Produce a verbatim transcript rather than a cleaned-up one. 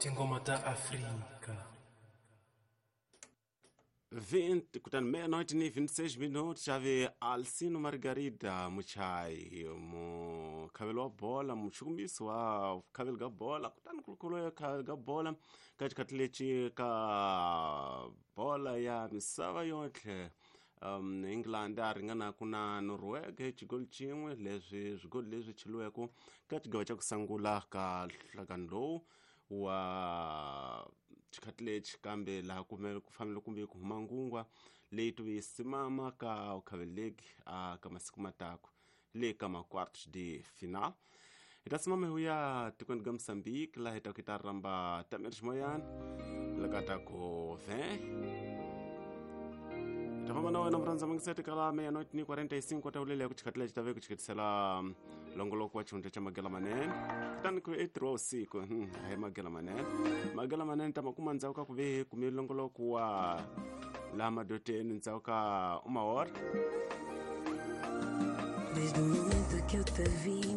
Tinghoma ta Afrika. vinte kutani meia-noite ni vinte e seis minutos xave Alcino Margarida Muchai mukhaveli wa bola muchukumisi wa vukhaveli ka bola kutani kulukulu ya khaveli ka bola ka xikhathi lexi ka bola ya misava yotlhe um England a ringanaku na Norway hi xigoli xin'we leswi swigoli leswi cheliweke ka xigava xa ku sungula ka nhlangano lowu wa xikhathi lexi kambe laha kumele ku fanele kumbe ku huma ngungwa leyi tuve simama ka ukhaveli league a ka masiku matako le ka ma quartos de final hi ta simama hi ya tikweni ka Mozambique laha hi ta ku hi ta rhamba Tamir Ximoyana laka ta ku ve ta famba na wena murhandza mangiseti kala meia-noite ni quarenta e cinco ta ulele ku xikhathi lexi ta ve ku xikhetisela longoloko wa xihundla xa magela manene kutani ku i ntirho wa vusiku a hi magela manene magela manene ta ma kuma ndzhaku ka ku ve hi kume longoloko wa laha madoteni ndzhaku ka uma hora. Desde o momento que eu te vi.